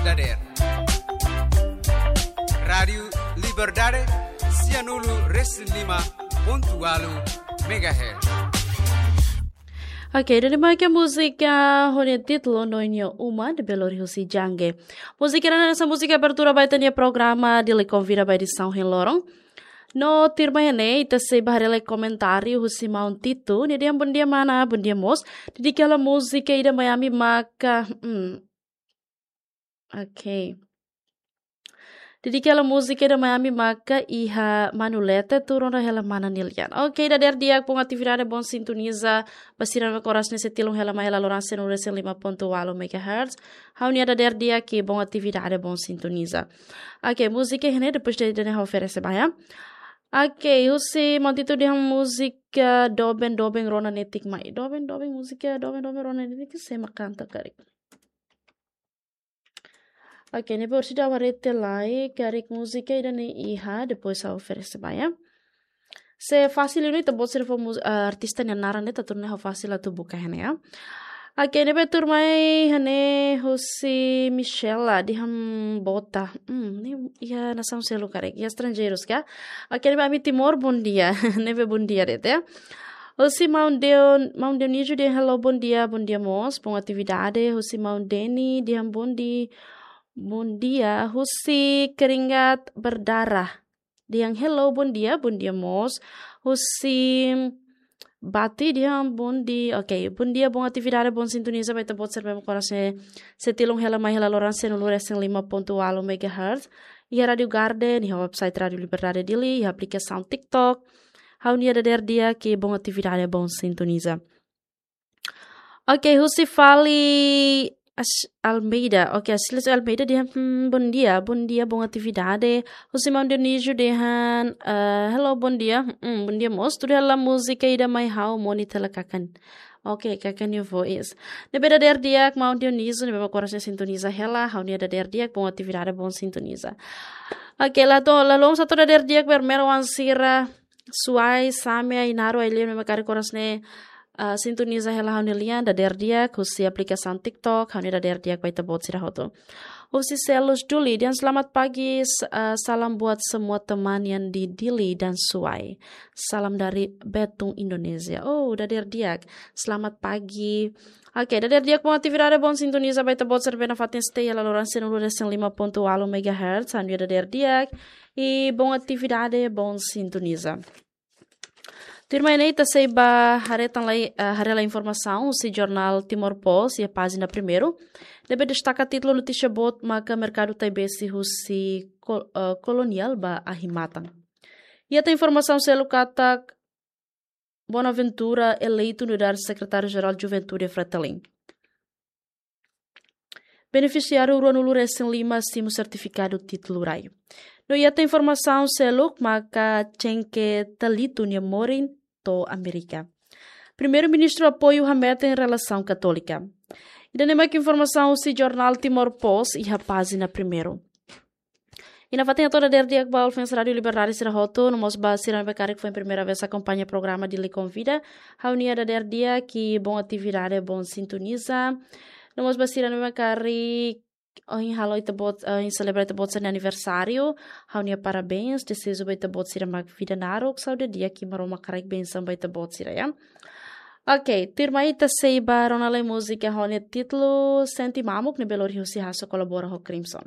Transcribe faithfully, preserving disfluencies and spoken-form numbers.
Dader. Rádiu Liberdade, sianulu resin lima pontu ualu megahertz. Oke, ida-ne'e mak múzika ho nia títulu Noinho Uma, ne'ebé lori husi Jange. Múzika ne'e hanesan múzika abertura ba ita-nia programa Dili Konvida ba edisaun ohin loron. No tuirmai ne'e, ita sei bá haree lai komentáriu husi maun Tito, nia dehan bondia mana, bondia mós. Dedika hela múzika ida mai ami maka, hmm. Oke. Dedika hela múzika ida mai ami maka iha Manu Lete, tuur ona hela mana nia lian. Oke, dader di'ak, bom atividade, bom sintoniza ba sira ne'ebé oras ne'e sei tilun hela mai hela loron sianulu resin lima pontu ualu megahertz. Ha'u-nia dader di'ak, bom atividade, bom sintoniza. Oke, múzika ne'e depois de, de ne'e oferese ba, ya. Oke, husi maun Tito dehan múzika doben doben rona netik mai. Doben doben, múzika doben doben rona netik, sé mak kanta karik? Oke, ne'ebé orsida warete lai, karik múzika ida-ne'e iha, depois ha'u oferese ba, ya. Se fasil ne'e ita-boot sira fó mus-, eh, artista nia naran ne'e, atu nune'e fasil atu buka iha ne'e, ya. Oke, ne'ebé tuirmai iha ne'e husi Michela, dehan bota. Hmm, ne'e iha nasaun seluk karik, iha estranjeirus ka? Oke, ne'ebé ami Timor, bondia. Ne'ebé bondia de'it, ya. Husi maun Deo-, maun Dionísio dehan hello, bondia, bondia mós, bom atividade. Husi maun Deni dehan bondi-, bondia. Husi Keringat Berdarah dehan hello, bondia, bondia mós. Husi Bati dehan bondi-, oke, bondia, bom atividade, bom sintoniza ba ita-boot sira ne'ebé oras ne'e sei tilun hela mai hela loron sianulu resin lima pontu ualu megahertz. Iha Rádiu Garden, iha website Rádiu Liberdade Dili, iha aplikasaun TikTok. Ha'u-nia dader di'ak, bom atividade, bom sintoniza. Oke, husi fali As-, Almeida. Oke, Asilis Almeida dehan, hmm, bondia, bondia, bom atividade. Husi maun Dionísio dehan, eh, hello, bondia. Hmm, bondia mós. Tuur hela múzika ida mai ha'u, moni tela kakan. Oke, kakan nia voice. Ne'ebé dader di'ak, maun Dionísio, ne'ebé mak oras ne'e sintoniza hela, ha'u-nia dader di'ak, bom atividade, bom sintoniza. Oke, la to, la lom satu dader di'ak ba Ermero Ansira, Suai, Same, Ainaro, Ailin, ne'ebé mak karik oras ne'e, ah, sintoniza hela ha'u-nia lian, dader di'ak, husi aplikasaun TikTok, ha'u-nia dader di'ak ba ita-boot sira hotu. Husi Selus Duli, dehan selamat pagi, s-, ah, salam buat semua teman yang di Dili dan Suai. Salam dari Betung, Indonesia. Oh, dader di'ak. Selamat pagi. Oke, dader di'ak, bom atividade, bom sintoniza ba ita-boot sira ne'ebé nafatin stay hela loron sianulu resin lima pontu ualu megahertz, ha'u-nia dader di'ak. I bom atividade, bom sintoniza. Tuirmai ne'e ita sei bá haree tan lai, eh, haree lai informasaun husi jornál Timor Post iha pájina primeiru. Ne'ebé destaka títulu notísia boot maka merkadu Taibesi husi kol-, eh, koloniál ba ahi matan. Iha tan informasaun seluk katak Bonaventura eleitu nu'udar Sekretáriu Jerál Juventude Fretilin. Benefisiáriu ruanulu resin lima simu sertifikadu títulu rai. No iha tan informasaun seluk maka Chenke Talitu nia morin to'o Amérika. Primeiru-Ministru apoiu hametin relasaun katólika. Ida-ne'e mak informasaun husi jornál Timor Post iha pájina primeiru. I nafatin hato'o dader di'ak ba ouvinte Rádiu Liberdade sira hotu, no mós ba sira ne'ebé karik foin primeira vez akompaña programa Dili Konvida, ha'u-nia dader di'ak, bom atividade, bom sintoniza. No mós ba sira ne'ebé karik ohin halo ita-boot, eh, ohin selebra ita-boot sira-nia aniversáriu, ha'u-nia parabéns, dezeju ba ita-boot sira mak vida naruk, saúde di'ak, Maromak haraik bensaun ba ita-boot sira, ya. Oke, tuirmai ita sei bá rona lai múzika ho nia títulu Sente Mamuk, ne'ebé lori husi Hasso kolabora ho Crimson.